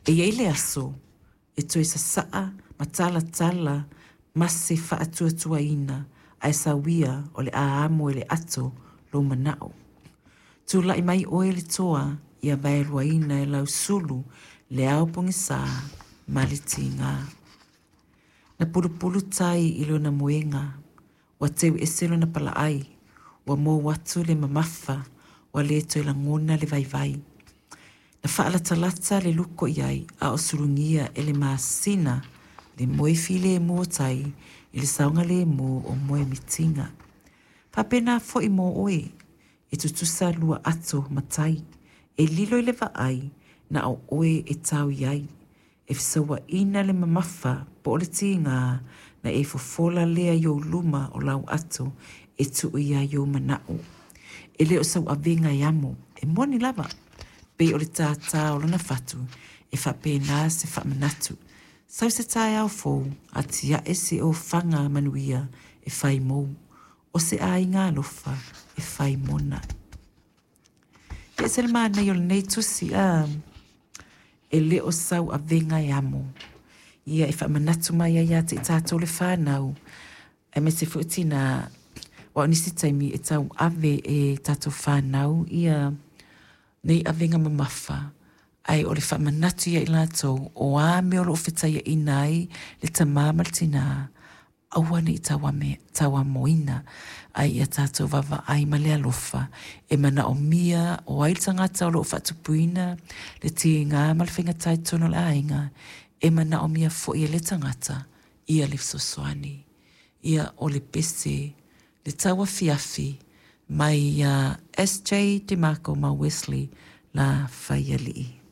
E i ai le aso e toe sasaa ma talatala ma se faatuatuaina ae sauia o le a amo e le ato lou manao. Tulai mai oe le toa ia vaeluaina e lau sulu le ao pogisa ma le tiga. Na pulupulu tai i lona moega, ua teu ese lona palaai, ua mou atu le mamafa, ua le toe lagona le vaivai. Na faalatalata le luko i ai a o sulugia e le masina le moe filemu o tai i le saogalemu o moe mitiga. Faapena foi mo oe, e tutusa lua ato ma tai, e lilo i le vaai na o oe e tau i ai, e fesauaina le mamafa po o le tiga na e fofola lea i ou luma o lau ato e tuu i ai ou manao. E le o sau avega e amo, e moni lava, pei o le tātā o lona fatu e faapena se faamanatu. Sau se taeao fou, atiae se ofaga manuia e fai mou, o se aiga alofa e fai mona. E ese le manaia o lenei tusi, a e le o sau avega e amo. Ia e faamanatu mai ai ia te i tatou le fanau, aemaise foi tinā, aua o nisi taimi e tauave e tatou fanau ia nei avega mamafa, ae o le faamanatu ia i latou, o a mea o lo o fetaiaina ai le tamā ma le tinā, aua ne i tauamoina, ae ia tatou vaavaai ma le alofa e manaomia o ai le tagata o lo o faatupuina le tiga ma le faigata i totonu o le aiga, e manaomia foi e lea tagata ia le fesoasoani. Ia, o le pese, le tauafiafi mai ia SJ DeMarco ma Wesley La Faialii.